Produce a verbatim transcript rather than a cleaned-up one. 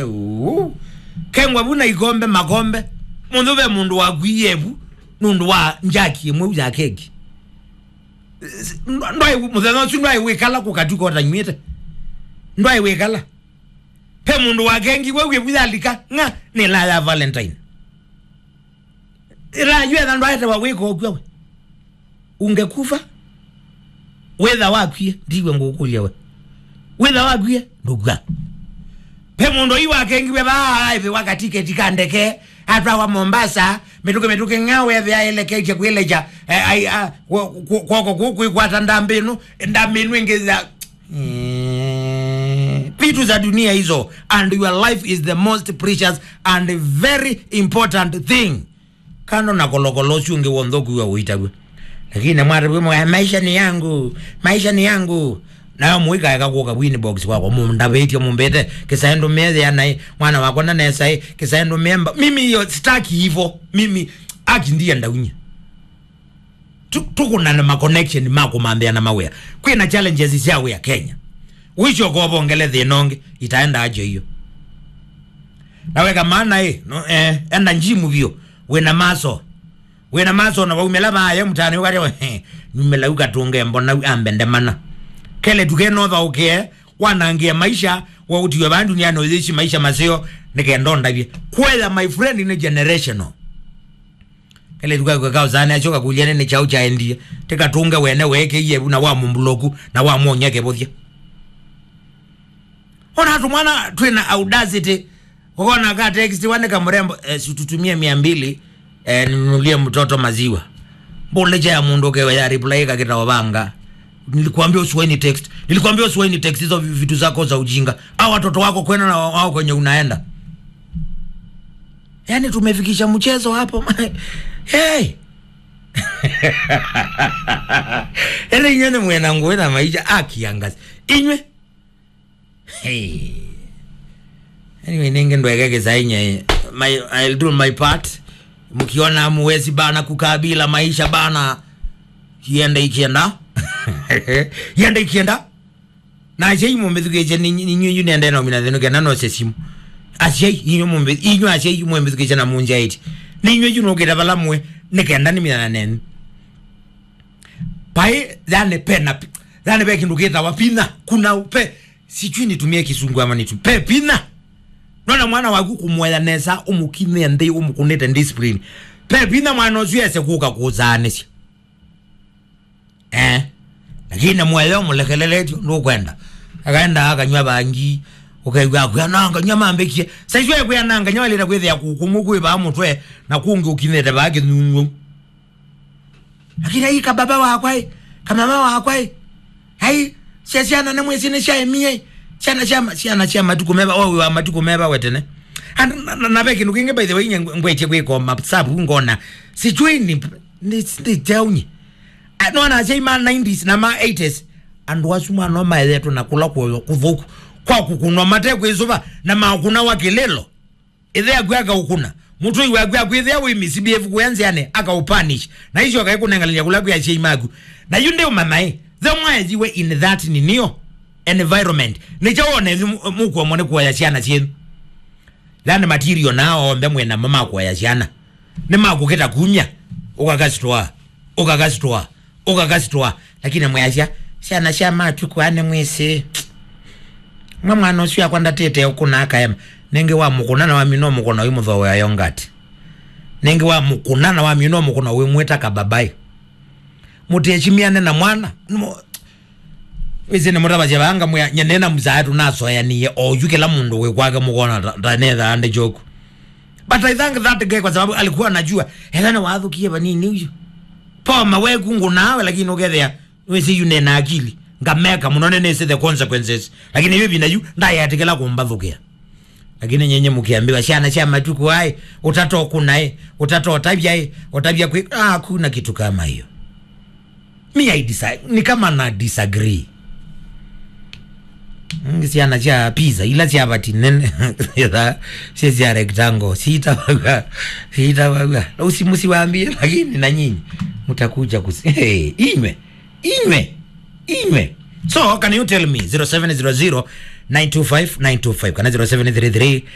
Uu. Kengwa vu na ikombe makombe. Mũndũ ve mũndũ wakwie vu nũndũ wa njaki ĩmwe ya keki. Ndwai mũthenya ũsu ndwai wĩkala kũkatuka ũtanywĩte. Ndwai wĩkala. Pe mũndũ wakengiwe wĩ vu yalika ng'a nĩ la ya Valentine. Ĩla yu etha ndwaetewa wĩka ũkw'a we. Ungekufa. Wĩtha wakwie ndiwe ngũkũlya we. Wĩtha wakwie ndũkw'a. Pe mũndũ yu wakengiwe vaa aĩvĩwa katiketi ka ndeke atwawa Mombasa mĩtũkĩ mĩtũkĩ ng'a wethĩa eleketye kwĩlecha eh, ai- a- kwo- kwo- kwoko kũu kwĩkwata ndambĩ ĩno ndambĩ ĩno ĩngĩ ya Eh, vitu za dunia hizo, and your life is the most precious and very important thing. Kando na kolokolo ũsu ũngĩ wonthe ũkuwa ũitaw'e. Lakini mwatavw'e mwa maisha ni yangu, maisha ni yangu. Nayo mũikaeka kũka inbox kwakwa mũndavĩtye mũmbĩte kĩsaĩ ndũmĩe thĩanaĩ mwana wakwa ndanesa ĩ kĩsaĩ ndũmĩe mba mimi hiyo sitaki hivyo mimi aki ndiye ndaunye. Tu- tũkũnane ma connection ma kũmanthĩana mawĩa. Kwĩna challenges sya wĩa Kenya. Ũisyoka ũvongele thĩna ũngĩ itaenda ajo iyo. Na weka maana ĩ no, eh, enda njimu vyũ. Wĩna maso. Wĩna maso na waumĩla vaya mũtane ũkateo. Numĩla ukatunge mbona ambende mana. Kele tukenotha ũkĩe wanangie maisha wa utiwe vaa duniani ũyĩshi maisha maseo nĩkenda ũndavye. Kwetha my friend nĩ generational. Kele tukakweka usane acio kakulia nene chao chaendie. Tikatunge wene weke yebu na wa mumbloku na wa mwonya kebothia. Ona tu mwana twina audacity. Ukona ka text wane kamurembo eh, si tutumie mia mbili eh, ninunulie mtoto maziwa. Mbole cha ya mundu kewe ya reply kakita obanga. Nilikuambia usiwahi ni text. Nilikuambia usiwahi ni text hizo vitu zako za ujinga. Hao watoto wako kwenda na wao kwenye unaenda. Yaani tumefikisha mchezo hapo. Hey. Ele inywe nĩ mwena nguĩ na maisha akiangasi. Inywe. Hey. Anyway, ninge ndweke kĩsainye. My, I'll do my part. Mkiona muwezi bana kukabila maisha bana. Kienda ikienda. Yenda ikienda. Na asyai mũmbĩthukĩĩsye nĩ- nĩ- nĩnyuĩ yu nendee na ũmina thĩnũ kenda nose simũ. Asyai inyuĩ mũmbĩ- inyuĩ asyai yu mũmbĩthukĩĩsye na mũnzyaĩtye nĩnyuĩ yu nũkĩte vala mwĩ nĩ kenda nĩmina nenyu. Paĩ yani pe na pi- yani pe kĩndũ kĩtawa pina kuna pe sijui nitumie kisungu ama nitu pe pina. Nona mwana waku kũmũea nesa ũmũkinyĩe nthĩ ũmũkũnĩte discipline. Pe pina mwana ũsu ese kũka kũzaanĩsya. Eh. Lakini mweleo mũlekelele tyo ndũkwenda. Akaenda akanywa bangi. Ũkaigua akwĩa no nganywa mambĩkie. Saiswe kwĩa na nganywa leta kwĩthĩa kũkũmũ kwĩ baa mũtwe na kũngĩ ũkinyĩte baa kĩnyunyu. Lakini ai kababa wakwa ai, kamama wakwa ai. Ai cia ciana na mwezi ni cia emie. Ciana cia ma- ciana cia matuko meba o wa matuko meba wetene. And na- na- na be kindu kingi by the way nye ngwetie kwiko map sabu ngona. Sijui ni ni ni teunyi. Nona asyai ma nineties na ma eighties andũ asu mwana maethetwe na kũla kũyo kũthũku kwa kũkũnwa mate kwĩsũva na makũna wa kĩlĩlo. Ĩthe aku akaũkũna mũtũi waku akwĩthĩa wĩ misbehave kũya nzĩanĩ akaũpunish na icio akaĩkũnengalany'a kũla kwĩ asyai maku. Na yu ndĩũmamaĩ the mwaethiwe in that ninio environment nĩkyo wone yu mũkuomwa nĩ kuoya syana syenyu. Learn material na onthe mwĩ namo ma kuoya syana. Nĩmakũkĩta kumya, ũkakasitwa, ũkakasitwa, ũkakasitwa. Lakini mwĩasya syana sya matukũ aa nĩmwĩsĩ. Mwa mwana ũsu akwa ndatĩte ũkũna akaema. Nĩngĩ wamũkũna na wamina ũmũkũna ũimũthooea yongati. Nĩngĩ wamũkũna na wamina ũmũkũna ũimwĩta kababai. Mũtĩĩchimiane na mwana. Nĩmo- Wĩsĩ nĩ mũtavasya vaa ngamwĩa nyene na mzaa tũnasoeanie oyu kĩla mũndũ wĩ kwake mũkona ta- tanethaa ndĩ joku. But I thank that guy kwa sababu alikuwa anajua ethana wathukie vanini uyu. Poma weku ngunawe lakini ukethea wĩsĩ yu nena akili ngameka mũno nĩnĩsĩ the consequences lakini yu vina yu ndayatikĩla kũmbathũkĩa. Lakini nyenye mkiambiwa syana sya matuku ai utatokunae utatotavyae utavya kwi ah, kuna kitu kama hiyo. Mi I disa- ni kama na disagree. Mm, syana sya pizza ila sya vati nene sya sya rectangle sitavagwa sitavagwa usi musiwambie lakini na nyinyi mtakuja kusi hey, inywe inywe inywe. So can you tell me zero seven zero zero nine two five nine two five kana zero seven three three